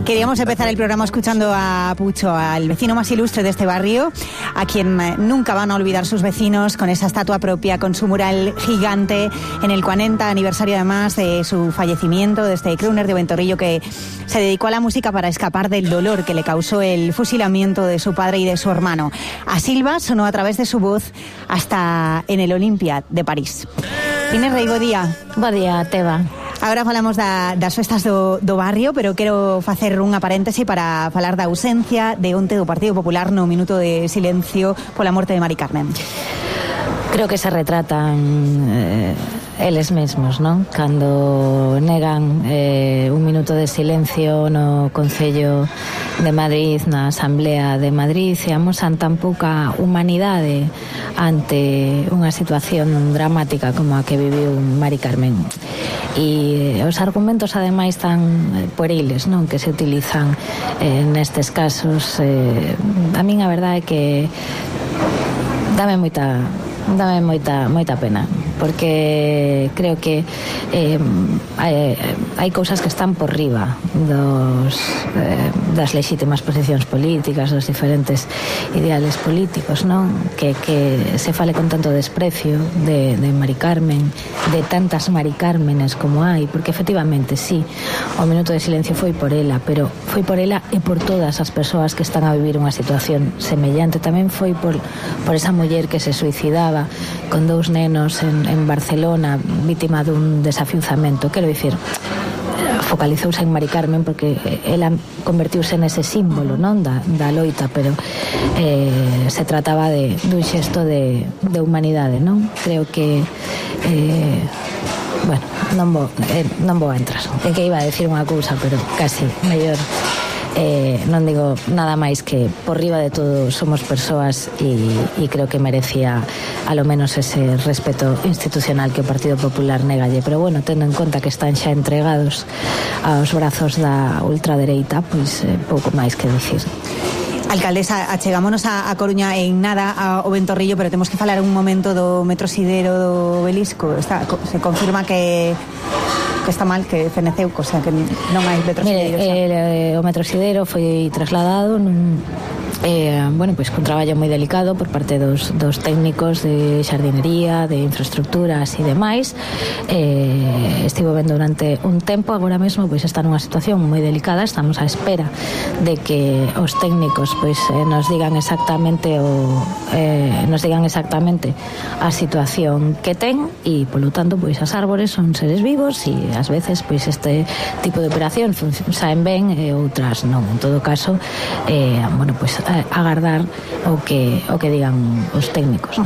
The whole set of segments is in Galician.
Queríamos empezar el programa escuchando a Pucho, al vecino más ilustre de este barrio, a quien nunca van a olvidar sus vecinos, con esa estatua propia, con su mural gigante en el 40 aniversario además de su fallecimiento, de este crooner de Ventorrillo que se dedicó a la música para escapar del dolor que le causó el fusilamiento de su padre y de su hermano. A Silva sonó a través de su voz hasta en el Olimpia de París. Inés Rei, bo día. Bo día, Teba. Agora falamos das festas do barrio, pero quero facer unha paréntese para falar da ausencia de onte do Partido Popular no minuto de silencio pola morte de Mari Carmen. Creo que se retratan eles mesmos, non? Cando negan un minuto de silencio no Concello de Madrid, na Asamblea de Madrid, e amosan tan pouca humanidade ante unha situación dramática como a que viviu Mari Carmen. E os argumentos ademais tan pueriles, non, que se utilizan nestes casos, a min a verdade é que dame moita pena, porque creo que hai cousas que están por riba das lexítimas posicións políticas, dos diferentes ideales políticos, non? Que se fale con tanto desprecio de Mari Carmen, de tantas Mari Cármenes como hai, porque efectivamente, sí, o minuto de silencio foi por ela, pero foi por ela e por todas as persoas que están a vivir unha situación semellante. Tamén foi por esa muller que se suicidaba con 2 nenos en Barcelona, vítima dun desafiuzamento. Quero dicir, focalizouse en Mari Carmen porque ela convertiuse nese símbolo, non, da loita, pero se trataba dun xesto de humanidade, non? Creo que bueno, non vou a entrar. É que iba a decir unha cousa, pero casi mellor non digo nada máis que por riba de todo somos persoas e creo que merecía a lo menos ese respeto institucional que o Partido Popular negalle, pero bueno, tendo en conta que están xa entregados aos brazos da ultradereita, pois pouco máis que dicir. Alcaldesa, achegámonos a Coruña en nada ao Ventorrillo, pero temos que falar un momento do Metrosidero do Belisco. Se confirma que está mal, que feneceu, o sea, que non hai Metrosidero. Mire, o Metrosidero foi trasladado bueno, pois con traballo moi delicado por parte dos técnicos de xardinería, de infraestructuras e demais. Estivo vendo durante un tempo, agora mesmo pois está nunha situación moi delicada. Estamos á espera de que os técnicos pois nos digan exactamente a situación que ten, e polo tanto pois as árbores son seres vivos e ás veces pois este tipo de operación saen ben e outras non. En todo caso, bueno, pois agardar o que digan os técnicos.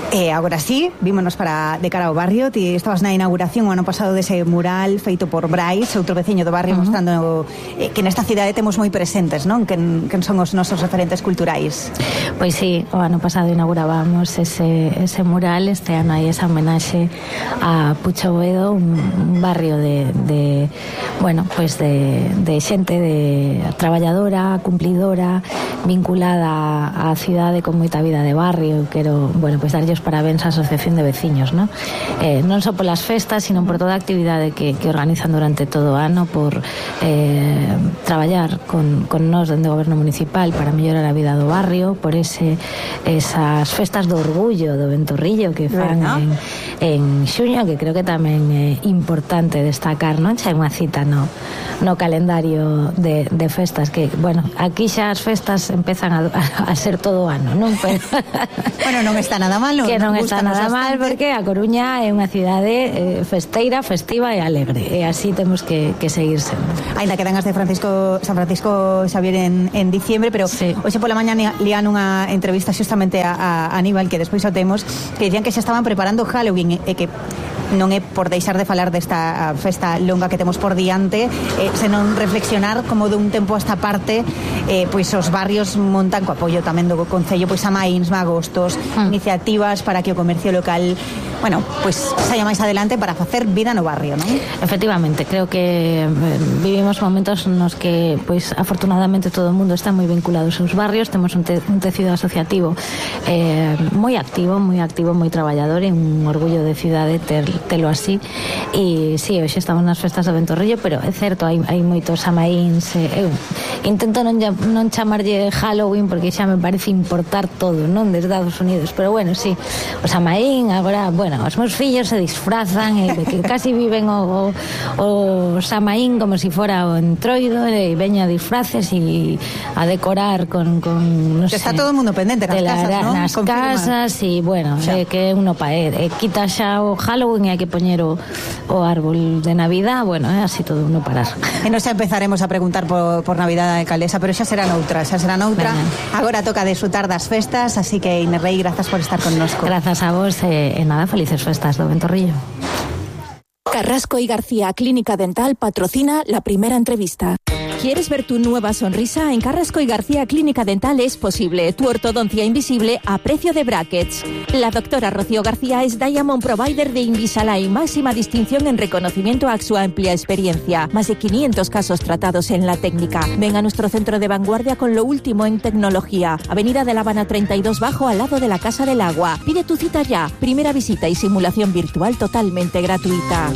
Agora sí, vímonos de cara ao barrio. Ti estabas na inauguración o ano pasado dese mural feito por Brais, outro veciño do barrio, mostrando que nesta cidade temos moi presentes, non? Quen son os nosos referentes culturais. Pois sí, o ano pasado inaugurábamos ese mural. Este ano hai esa homenaxe a Pucho Boedo, un barrio de bueno, pois de xente de traballadora, cumplidora, vinculada á cidade con moita vida de barrio. Quero, bueno, pois darlle os parabéns á Asociación de Veciños, non? Non só polas festas, sino por toda a actividade que organizan durante todo o ano, por traballar con nós dende o goberno municipal para mellorar a vida do barrio, por esas festas do orgullo do Ventorrillo que fan en xuño, que creo que tamén é importante destacar, non? Xa hai unha cita no calendario de festas que, bueno, aquí xa as festas empezan a ser todo o ano, non? Pero bueno, non está nada mal, que non está nada mal, porque a Coruña é unha cidade festeira, festiva e alegre, e así temos que seguir sendo. Ainda quedan as de San Francisco Xavier en diciembre, pero sí. Hoxe pola mañá lían unha entrevista xustamente a Aníbal, que despois o temos, que dicían que xa estaban preparando Halloween, e que non é por deixar de falar desta festa longa que temos por diante, senón reflexionar como dun tempo a esta parte pois os barrios montan co apoio tamén do Concello pois a maíns, magostos, iniciativas para que o comercio local bueno, pues saia máis adelante para facer vida no barrio, non? Efectivamente, creo que vivimos momentos nos que, pois, afortunadamente todo o mundo está moi vinculado aos seus barrios, temos un tecido asociativo moi activo, moi traballador, e un orgullo de cidade telo así. E sí, hoxe estamos nas festas do Ventorrillo, pero é certo, hai moitos samaíns. Eu intento non chamarlle Halloween porque xa me parece importar todo, non, desde Estados Unidos, pero bueno, sí, o samaín, agora, bueno, os meus fillos se disfrazan e que casi viven o samaín como si fora o entroido, e veña a disfraces e a decorar con non sei. Está todo o mundo pendente nas casas, non? Nas casas, e bueno, que uno quita xa o Halloween e hai que poñer o árbol de Navidad, bueno, así todo uno parar. E nos empezaremos a preguntar por Navidad da alcaldesa, pero xa será noutra. Agora toca disfrutar das festas, así que Inés Rey, grazas por estar connosco. Grazas a vos e nada, felices festas do Ventorrillo. Carrasco y García Clínica Dental patrocina la primera entrevista. ¿Quieres ver tu nueva sonrisa? En Carrasco y García Clínica Dental es posible. Tu ortodoncia invisible a precio de brackets. La doctora Rocío García es Diamond Provider de Invisalign, máxima distinción en reconocimiento a su amplia experiencia. Más de 500 casos tratados en la técnica. Ven a nuestro centro de vanguardia con lo último en tecnología. Avenida de La Habana 32 Bajo, al lado de la Casa del Agua. Pide tu cita ya. Primera visita y simulación virtual totalmente gratuita.